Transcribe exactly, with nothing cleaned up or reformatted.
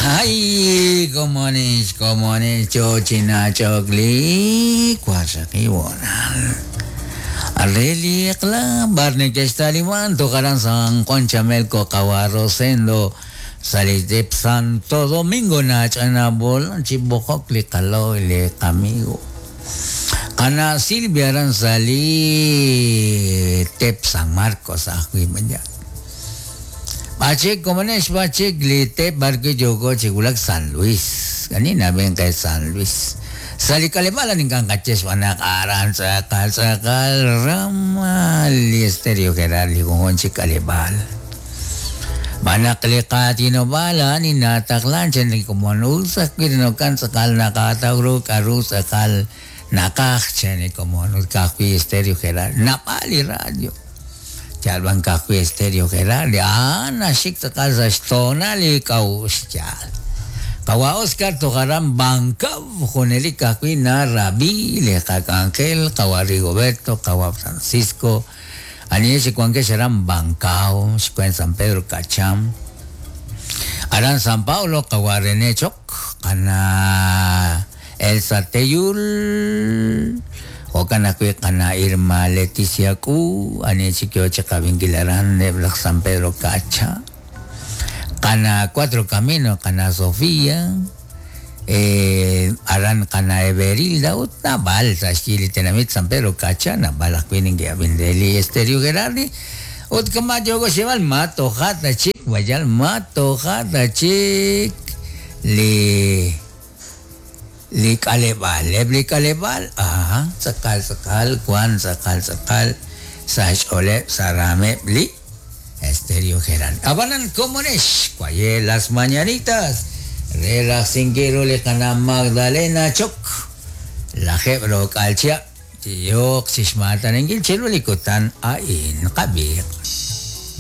Ay, komonex, komonex, chochina chokli, kwashakiwonal. Areli ekla, barne kestaliwan, tocarán San Juan Chamelco, Cabarrosendo, Salitep Santo Domingo, Nachanabol, Chibocok, Licalo, le amigo. Ana Silvia Aranzali, Tep San Marcos, Ajuimaya. Bachik, komonex, bachik, li Tep Barque Yogo, Chigulac, San Luis. Kanina ven kay San Luis. Salikalebala ning kang kaches wanak aran sakal sakal ramal estereo Gerardi kung kalebal. Banak likatino bala ni nataklan chen ni kumonusak kirinokan sakal nakatagro karu sakal nakak chen ni kumonus kakwi estereo Gerardi napali radio. Chalban kakwi estereo Gerardi ah nasik sakal sa stonali kaus chal. Kawa Oscar tocarán Bancav, Jonelica Cuina, Rabí, Leja Ángel, Kawa Rigoberto, Kawa Francisco, Anies y Cuanque serán Bancao, Chicuén San Pedro Cacham, Arán San Paulo, Kawa René Choc, Ana Elsa Teyul, Ocana Cana Irma Leticia Q, Anies y Kioche Cabinguilarán, de San Pedro Cacha. Cana Cuatro Caminos, Cana Sofía, eh, Aran Cana Everilda, Utna Balsa, Chile, Tenamit, San Pedro Cachana, Balas Queening, Abindeli, Estereo Gerardi, Utkama Yogo Sheval, Mato Jata Chic, Guayal, Mato Jata Chic, Li, Li Kalebal, Li Kalebal, aha, Sakal, Sakal, Juan, Sakal, Sakal, Sash Ole, Sarame, Li. Estereo Gerardi. Abanan Comonesh, cuaye las mañanitas, Relaxinguero le cana Magdalena Choc, la Jebro Calcia, Tiyok, Sishmatan, Engil, Chelo Licotan, Ain, Kabir.